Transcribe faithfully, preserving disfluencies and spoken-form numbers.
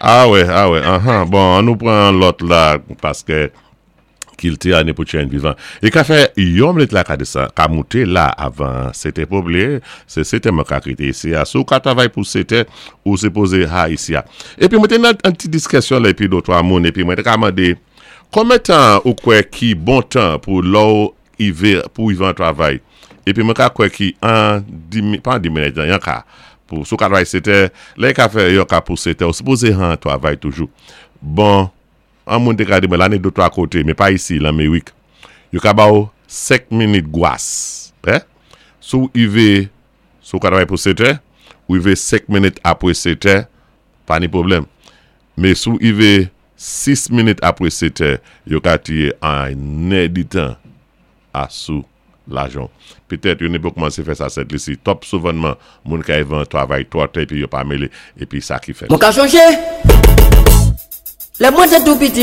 Ah wè, ah wè, uh-huh. Bon, an nou pran lòt la, paské kilti a ni pou tjen vivan. I ka fè yon minit la ka desann, ka mouté la avan sétè pa bliyé, sé sétè mwen ka kité isi a. Si ou ka travay pou sétè, ou sipozé ha isi a. Épi mwen té nan an ti diskisyon la épi dé twa moun, épi mwen té ka mandé, konbyen tan ou kwè ki bon tan pou lò ivé, pou ivé an travay? Épi mwen ka kwè ki an, di, pa an di minit, yon ka, pou si ou ka travay sétè, lè ka fè yon ka pou sétè, ou sipozé an travay toujou. Bon, an moun té ka di mwen la ni dé twa koté, mé pa isi, lan Méwik. Yo ka ba ou senk minit gwas. Eh? Si ou ivé, si ou ka travay pou sétè, ou ivé senk minit apwé sétè, pa ni pwoblèm. Mé si ou ivé sis minit apwé sétè, yo ka tiyé an èditan asou lajan. Petèt yo ni pou koumansé fè sa Sent Lisi. Twòp souvanman, moun ka ivé an travay twò tè, épi yo pa mélé, épi sa ki fèt. Mwen ka chonjé. Lè mwen té tou piti.